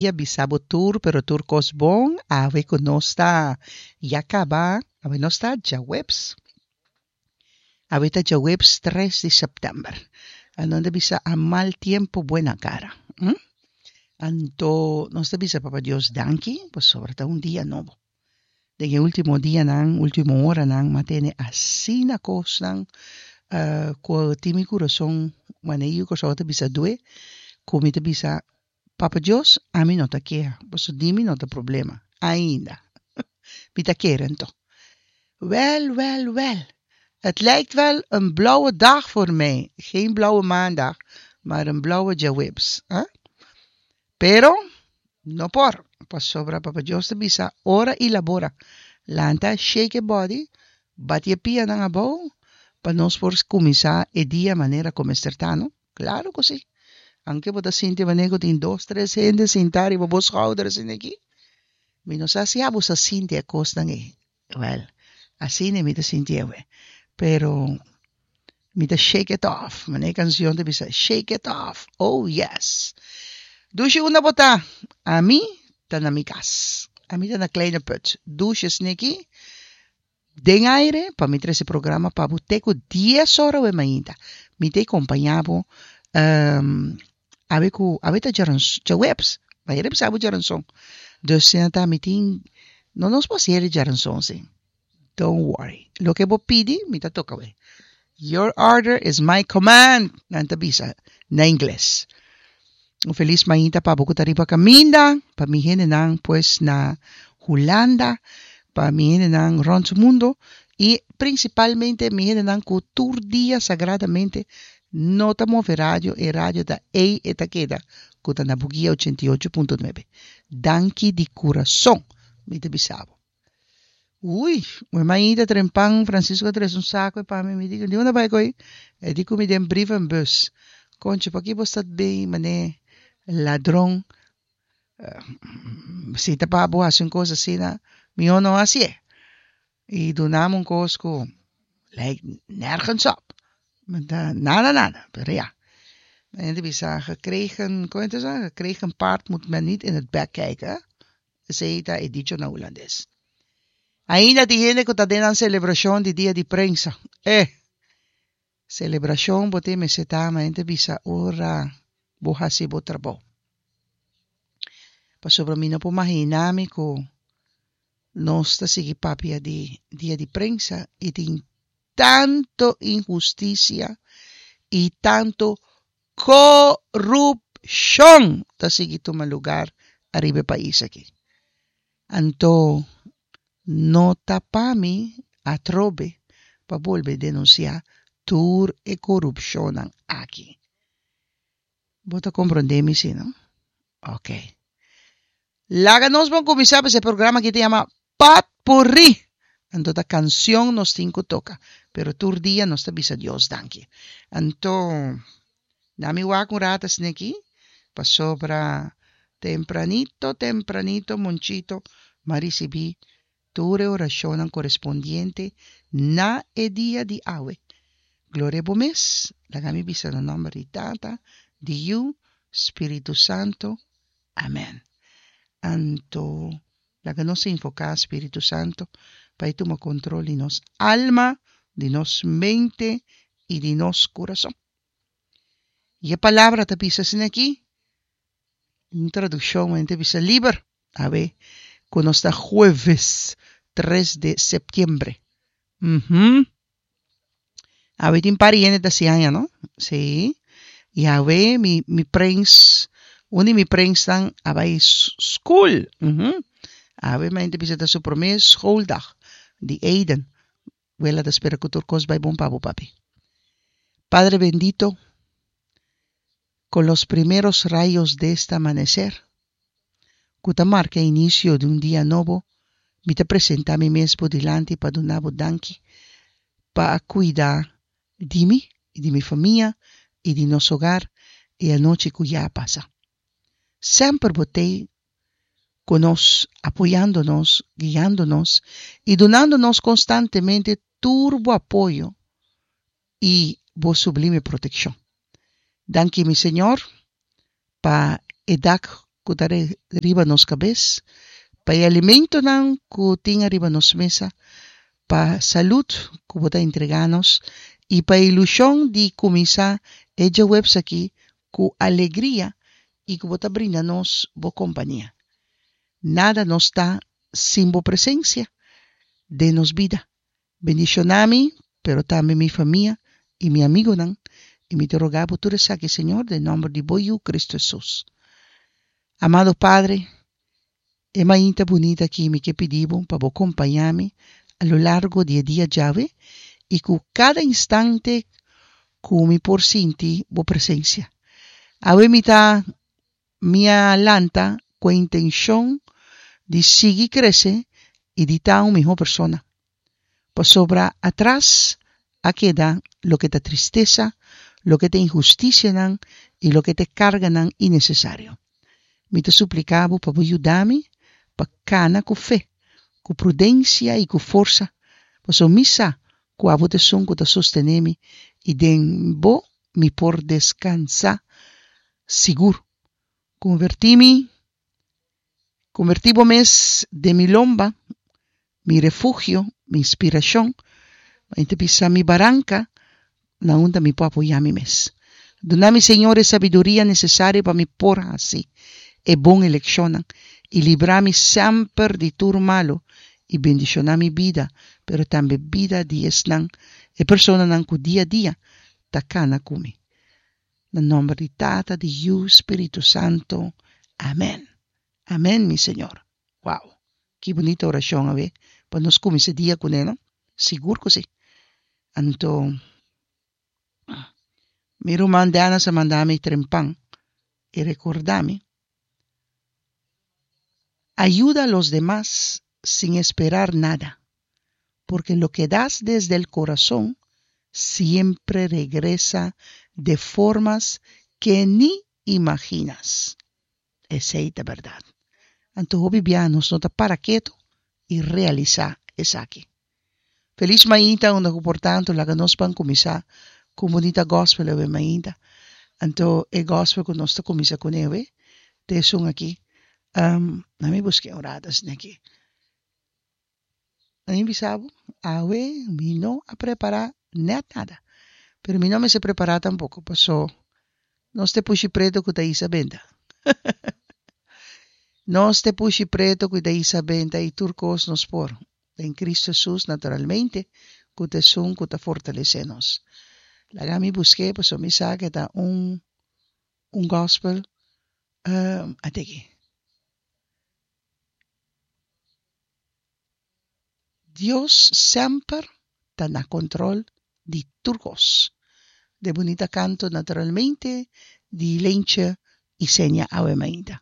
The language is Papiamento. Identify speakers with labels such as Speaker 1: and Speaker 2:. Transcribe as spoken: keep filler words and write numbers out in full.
Speaker 1: Dia bisa bo tur pero tur kos bon awe ku nos ta ya kaba awe nos ta djaweps awe ta djaweps tres di sèptèmber nan ta bisa a mal tiempo buena cara hm anto nos ta bisa papa Dios danki pasobra ta un dia nobo den e ultimo dianan ultimo oranan m'a tene asina kosnan ku tin mi kurason manera yu Kòrsou ta bisa due ku mi ta bisa Papa Dios, ami no ta keha, paso di mi no ta problema, ainda. Mi ta kere anto. Wel, wel, wel, het lijkt wel een blauwe dag voor mij. Geen blauwe maandag, maar een blauwe djaweps. Hè? Pero, no por, pasobra Papa Dios ta bisa, ora i labora. Lanta, shake e body, bati e pianan abou, pa nos por kuminsá e dia manera ku mester ta, no? Klaro ku si. Anke bo ta sinti manera ku tin dos tres hende sintá riba bo schouder asina aki. Mi no sa si abo sa sinti e kosnan ei. Wèl, asina mi ta sinti awe. Pero mi ta shake it off. Manera e kanshon ta bisa, shake it off. Oh yes! Dushi unda bo ta? Ami ta na mi kas. Ami ta na Kleine Put. Dushi asina aki. Den aire pa mi trese programa pa bo te ku dies ora awe mainta. Mi ta kompañá bo awe ku awe ta djaweps, bayera bisa bo djaranson. Dus asina ta mi tin no nos por hasié djaranson si. Don't worry. Loke bo pidi mi ta toka awe. Your order is my command, nan ta bisa na ingles. Un felis mainta pa bo ku ta riba kaminda, pa mi hendenan pues na Hulanda, pa mi hendenan rònt mundo i prinsipalmente mi hendenan ku tur dia sagradamente no ta move radio, e radio ta ei e ta keda ku ta na Bugia ochenta i ocho punto nuebe. Danki di kurason mi ta bisa bo. Ui, mi mainta trempan Francisco a trese un saco pa mi, mi di, di unda bai koe? E di ku mi den brievenbus. Concho, paki bo sta bin mane ladron? Si ta pa bo hasi un kos asina, mihó no hasié. I dunami un kos ku lijkt nergens op. Nada nada, pero ya. Mi ta bisa, gekregen, kon ta sa? Gekregen paard moet men niet in het bek kijken. Esei ta e dicho na hulandes. Ainda tin hende ku ta den nan selebrashon di dia di prensa. Eh! Selebrashon bo tin mester ta, ma hende bisa ora bo hasi bo trabou. Pasobra mi no por mahina mi ku nos ta sigui papia di dia di prensa i tin tanto inhustisia i tanto korupshon ta sigui tuma lugar ariba e pais aki. Anto no ta pa mi atrobe pa bolbe denunsiá tur e korupshonnan aki. Bo ta komprondé mi si, no? Ok. Laga nos bon kuminsá pues e programa aki ta yama Potpurrí. Anto ta kanshon nos tin ku toka, pero tur dia nos ta bisa Dios danki. Anto na mi wak un rato asina aki, pasobra tempranito tempranito Monchito m'a risibí tur e orashonnan korespondiente na e dia di awe. Gloria bo mes, laga mi bisa na nòmber di Tata, di Yu, Spiritu Santu. Amen. Anto laga nos invoká Spiritu Santu pa e tuma kontrol di nos alma, di nos mente i di nos kurason. I e palabra ta bisa asina aki, un tradukshon men ta bisa liber, awe ku nos ta jueves tres de septiembre. Uhum. Awe tin par di hende ta hasi aña, no? Sí. I awe mi mi prens, un di mi prensnan a bai skol. Uhum. Awe mi a bisa ta su promé schooldag di Aiden. Wela ta spera ku tur kos bai bon pa bo, papi. Padre bendito, con los primeros rayos de este amanecer, ku ta marka inicio di un dia nobo, mi ta presenta mi mes bo dilanti pa duna bo danki pa a kuida di mi i di mi famia i di nos hogar e anochi ku ya a pasa. Semper bo t'ei ku nos, apoyando nos, guiando nos i dunando nos konstantemente tur bo apoyo i bo sublime protekshon. Danki mi Señor pa e dak ku ta riba nos kabes, pa e alimentonan ku tin ariba nos mesa, pa salud ku bo ta entregá nos i pa e ilushon di kuminsá e djaweps aki ku alegria i ku bo ta brinda nos bo kompania. Nada nos ta sin bo presensia den nos bida. Bendishoná mi, pero tambe mi famia i mi amigonan, i mi ta roga bo tur esaki, Señor, den nòmber di bo Yu, Kristu Hesus. Amado Padre, e mainta bunita aki mi ke pidi bo pa bo kompañá mi a lo largo di e dia djawe i ku kada instante ku mi por sinti bo presensia. Awe mi ta mi a lanta ku e intenshon di sigui krese i di ta un mihó persona. Pasobra atras a keda loke ta tristesa, loke ta inhustisianan i loke ta e karganan innesesario. Mi ta supliká bo pa bo yuda mi pa kana ku fe, ku prudensia i ku forsa, pasobra mi sa ku abo ta esun ku ta sostené mi i den bo mi por deskansá sigur. Konvertí mi, konvertí bo mes den mi lomba, mi refugio, mi inspirashon, mi ta bisa mi baranka na unda mi por apoyá mi mes. Duna mi, Señor, e sabiduria nesesario pa mi por hasi e bon elekshonnan i libra mi semper di tur malu i bendishoná mi bida, pero tambe bida di esnan, e personanan ku dia dia ta kana ku mi. Na nòmber di Tata, di Yu, Spiritu Santu. Amèn. Amèn, mi Señor. Wow! Ki bunita orashon awe pa nos kuminsá dia kuné, no? Sigur ku si. Anto, mi ruman Dennis a manda mi trempan i rekordá mi, Ayuda a los demás sin esperar nada, porque lo que das desde el corazón siempre regresa de formas que ni imaginas. Esei ta bèrdat. Anto hopi bia nos no ta para ketu i realisá esaki. Felis mainta unda ku por tantu laga nos ban kuminsá ku un bunita gòspel awe mainta. Anto e gòspel ku nos ta kuminsá kuné awe ta esun aki. Um, na mi busk'é un rato asina aki. Na mi bisa bo, awe mi no a prepará nèt nada. Pero mi no mester prepará tampoko, paso nos ta e pushi pretu ku ta hisa benta. Nos ta e pushi pretu ku ta hisa benta i tur kos nos por. Den Cristo Hesus, naturalmente, ku ta esun ku ta fortalesé nos. Laga mi busk'é, pasobra mi sa ku e ta un un gospel. Um, ate aki. Dios semper ta na control di tur cos. De bunita canto naturalmente di Lentje Isenia awe mainta.